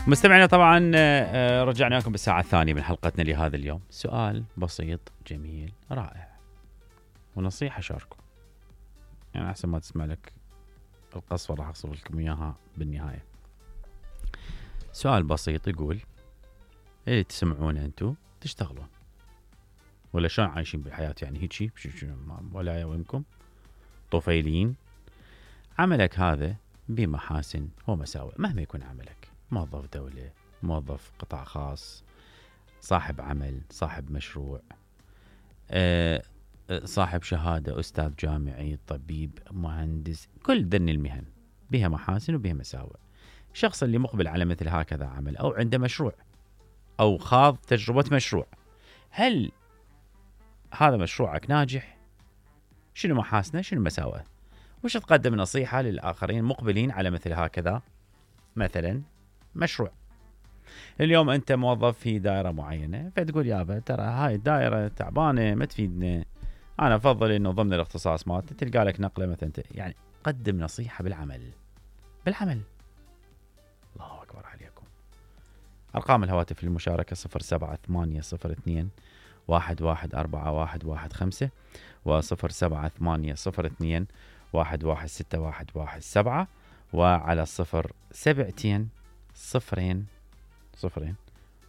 مستمعينا طبعا رجعنا لكم بالساعة الثانية من حلقتنا لهذا اليوم. سؤال بسيط جميل رائع ونصيحة شاركوا، يعني أحسن ما تسمع لك القصة راح أقصر لكم إياها بالنهاية. سؤال بسيط يقول إيه تسمعون أنتوا تشتغلون ولا شلون عايشين بالحياة؟ يعني هيك ولا وينكم طفيلين. عملك هذا بمحاسن ومساوئ مهما يكون عملك، موظف دولة، موظف قطاع خاص، صاحب عمل، صاحب مشروع، صاحب شهادة، أستاذ جامعي، طبيب، مهندس، كل ذن المهن بها محاسن وبها مساوئ. الشخص اللي مقبل على مثل هكذا عمل أو عنده مشروع أو خاض تجربة مشروع، هل هذا مشروعك ناجح؟ شنو محاسنه؟ شنو مساوئه؟ وش تقدم نصيحة للآخرين مقبلين على مثل هكذا مثلا مشروع؟ اليوم أنت موظف في دائرة معينة فتقول يابا ترى هاي الدائرة تعبانة ما تفيدنا، أنا أفضل إنه ضمن الاختصاص مالتي تلقى لك نقلة مثلا، يعني قدم نصيحة بالعمل. الله أكبر عليكم. أرقام الهواتف للمشاركة 07802 114115 و07802 116117 وعلى 072 0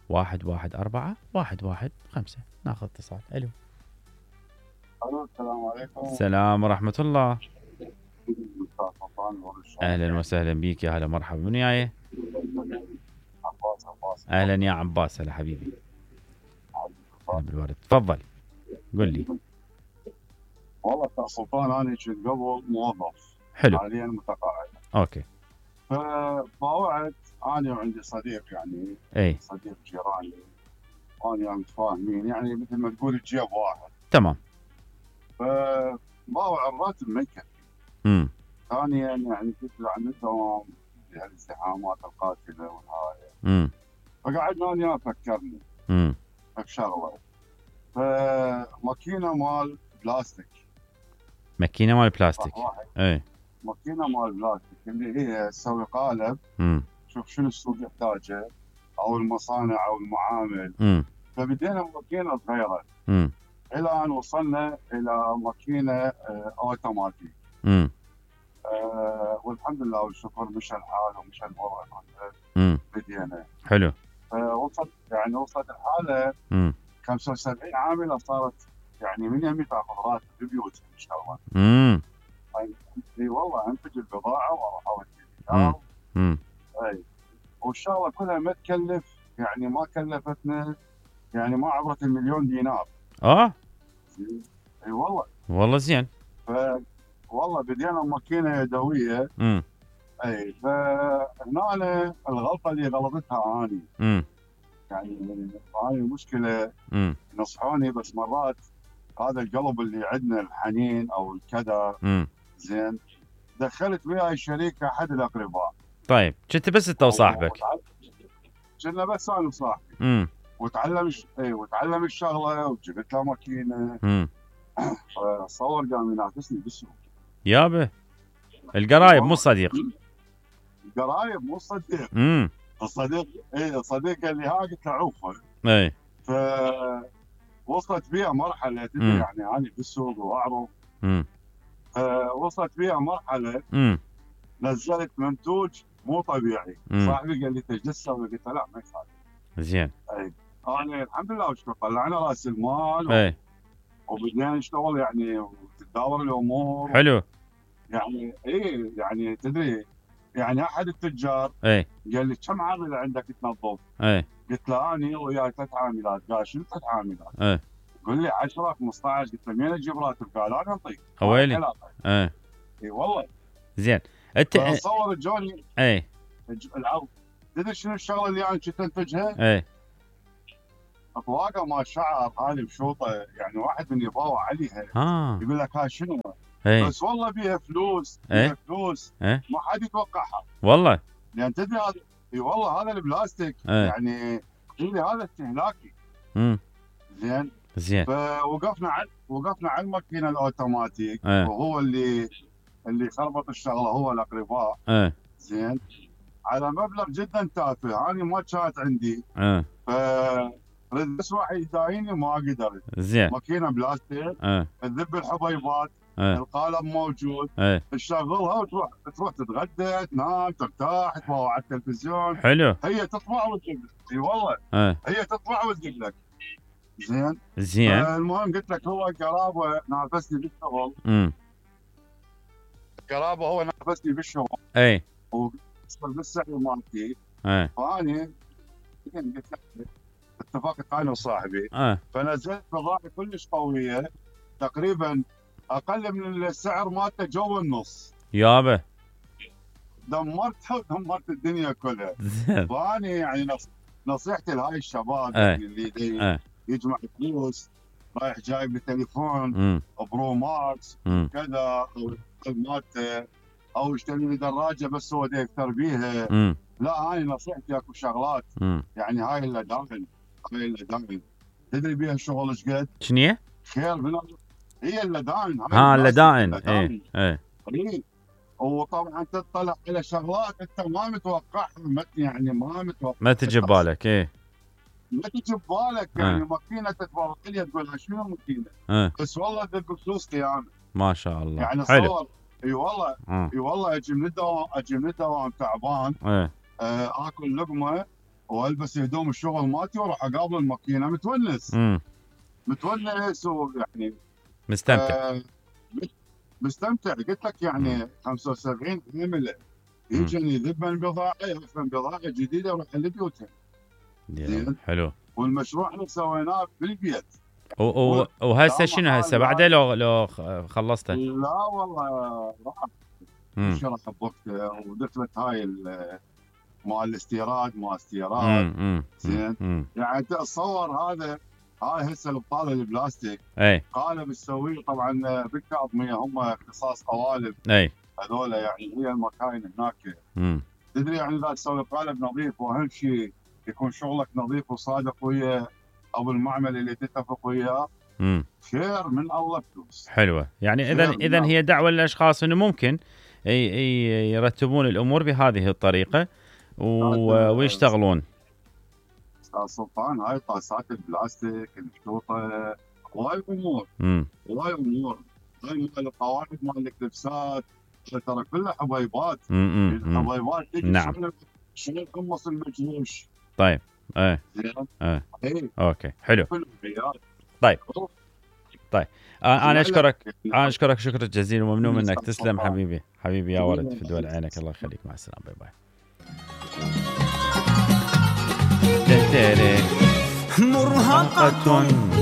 114 ناخذ اتصال. الو السلام عليكم. السلام ورحمة الله. اهلا وسهلا بيك، يا هلا مرحبا. من وياي؟ عباس. اهلا يا عباس. هلا حبيبي. هلا بالورد. تفضل قل لي. والله سلطان انا كنت قبل موظف، حلو، حاليا متقاعد. اوكي. فباوعد انا وعندي صديق، يعني اي صديق جيراني وانا متفاهمين، يعني مثل ما تقول الجيب واحد. تمام. فباوع الراتب ما يكفي. ثانيا يعني تطلع من الدوام الازدحامات القاتله والهاي. فقعدنا انا فكرني بشغله، فماكينه مال بلاستيك. ماكينه مال بلاستيك. اي ماكينه مال بلاستيك اللي هي تسوي قالب. شوف شنو السوق يحتاجه او المصانع او المعامل. فبدينا ماكينه صغيره الى ان وصلنا الى ماكينه اوتوماتيك. والحمد لله والشكر مشى الحال ومشى الوضع. بدينا حلو. وصلت الحاله 75 عامله صارت يعني من يمي تاخذ راتب ببيوتهم يشتغلون. اي والله انتج البضاعه واروح اودي. اي والشغله كلها ما تكلف، يعني ما كلفتنا، يعني ما عبرت المليون دينار. اي والله زين. والله بدينا ماكينه يدويه. اي فهنا الغلطه اللي غلطتها اني. يعني هاي المشكله. نصحوني بس مرات هذا القلب اللي عندنا الحنين او الكدر. زين دخلت وياي شريك احد الاقرباء. طيب كنت بس انت وصاحبك؟ كنا بس انا وصاحبي. وتعلم الشغله وجبت له ماكينه. فصور قام ينافسني بالسوق. يابا القرايب مو صديق. القرايب مو صديق. الصديق قال لي ها، قلت له عوفه. اي وصلت بيها مرحله تدري، يعني انا بالسوق واعرف. وصلت بيها مرحله نزلت منتوج مو طبيعي. صاحبي قال لي تجلس، قلت له لا ما يصير. زين. اي انا الحمد لله والشكر طلعنا راس المال. وبدينا نشتغل يعني وتتداول الامور. حلو. يعني يعني تدري، يعني احد التجار قال لي كم عامل عندك تنظف؟ قلت له اني وياي 3 عاملات. قال شنو 3 عاملات؟ قال لي 10 15. قلت له مين اجيب راتب؟ قال انا انطيك. ويلي. اي والله. زين انت تصور جوني العرض. تدري شنو الشغله اللي انا كنت انتجها؟ اطواقه ما شعر هذه مشوطه، يعني واحد من يباوع عليها. يقول لك هاي شنو؟ بس والله بيها فلوس. فلوس ما حد يتوقعها والله. يعني تدري هذا والله هذا البلاستيك يعني اللي هذا استهلاكي. زين فوقفنا على الماكينه الاوتوماتيك. وهو اللي خربط الشغله هو الاقرباء. زين على مبلغ جدا تافه، انا ما كانت عندي. ف بس واحد يدايني ما قدرت. زين. ماكينه بلاستيك، تذب الحبيبات، القالب موجود، تشغلها وتروح تتغدى، تنام، ترتاح، تتفرج على التلفزيون. حلو. هي تطلع وتجيب لك. اي والله. هي تطلع وتجيب لك. زين. المهم قلت لك هو قرابه نافسني بالشغل. قرابه هو نافسني بالشغل. اي. وصل بالسعر مالتي. فاني قلت لك اتفقت انا وصاحبي. فنزلت بضاعه كلش قويه، تقريبا اقل من السعر مالته جو النص. يابا. دمرتها ودمرت الدنيا كلها. فاني يعني نصيحتي لهاي الشباب اللي يجمع فلوس، رايح جايب بتليفون برو ماكس كذا، او مالته، او يشتري لي دراجه بس هو دا يفتر بيها. لا، هاي نصيحتي اكو شغلات يعني هاي اللي دائما تدري بيها الشغل ايش قد؟ شنو خير من هي اللدائن. اللدائن. اي. وطبعا تطلع على شغلات انت ما متوقعها، يعني ما تجي ببالك. ما تجي ببالك يعني. ماكينه تتفرج عليها تقول شنو ماكينه؟ بس والله تلقى فلوس قيامه. ما شاء الله. يعني صور. اي والله اجي من الدوام تعبان. اكل لقمه والبس هدوم الشغل مالتي واروح اقابل الماكينه متونس. ويعني مستمتع. قلت لك يعني 75 عامله يجيني ذبا بضاعه، يفهم بضاعه جديده وراح لبيوتها. حلو. والمشروع احنا سويناه بالبيت. وهسه شنو هسه بعده لو خلصته؟ لا والله راح شرح بوقته، ودخلت هاي مال الاستيراد زين. يعني تصور هاي هسه البطاله البلاستيك قالب تسويه طبعا بالكاظميه، هم اختصاص قوالب. هذول يعني هي المكاين هناك. تدري يعني اذا تسوي قالب نظيف، واهم شيء يكون شغلك نظيف وصادق ويا ابو المعمل اللي تتفق وياه، خير من الله فلوس. حلوه. يعني اذا هي دعوه للاشخاص انه ممكن يرتبون الامور بهذه الطريقه ويشتغلون. استاذ سلطان، هاي طاسات البلاستيك المشطوطه هواي امور. هاي مال القواعد مال الكبسات ترى كلها حبيبات. الحبيبات تجي. نعم. شنو القمص المجروش. طيب. اوكي. حلو. طيب. انا اشكرك شكرا جزيلا وممنون منك. تسلم حبيبي يا ولد، في دول عينك. الله يخليك. مع السلامه. باي باي. مرهقة